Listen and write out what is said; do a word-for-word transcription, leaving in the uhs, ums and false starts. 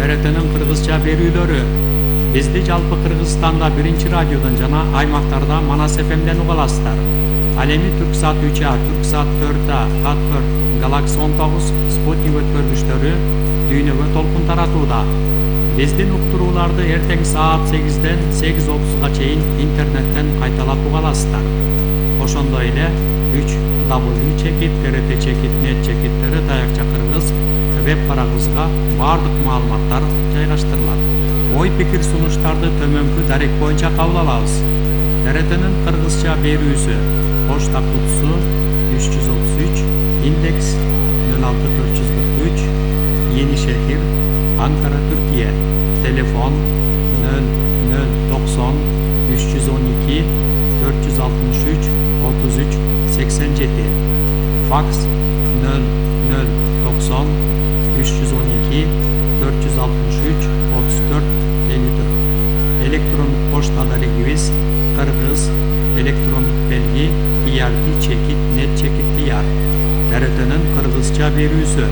Т Р Т'нин кыргызча берүүлөрү. Бизди жалпы Кыргызстанда биринчи радиодон жана аймактарда Манас эф эмден уга аласыздар. Ал эми Түрксат үч А, Түрксат төрт А, Хатбер, Галакси он тогуз, Спутник өткөргүчтөрү дүйнөгө толкун таратууда. Биздин уктурууларды эртең саат сегизден сегиз отузга чейин интернеттен кайталап уга аласыздар. Ошондой эле үч дабл ю чекит т р т чекит нет чекит т р таякча кыргыз веб-барагыбызга баардык маалыматтар жайгаштырылат. Ой пикир сунуштарды төмөнкү дарек боюнча кабыл алабыз. Т Р Т'нин кыргызча берүүсү: почта кутусу үч жүз отуз үч, индекс нөл алты төрт жүз кырк үч, Енишехир, Анкара, Түркия. Телефон нөл нөл токсон үч жүз он эки төрт жүз алтымыш үч отуз үч сексен жети. Факс нөл нөл токсон үч жүз он эки төрт жүз алтымыш үч отуз төрт элүү төрт. Электрондук почта дарегибиз: кыргыз электрондук белги и ар ти чекит нет чекит ди ар. Т Р Т'нин кыргызча берүүсү.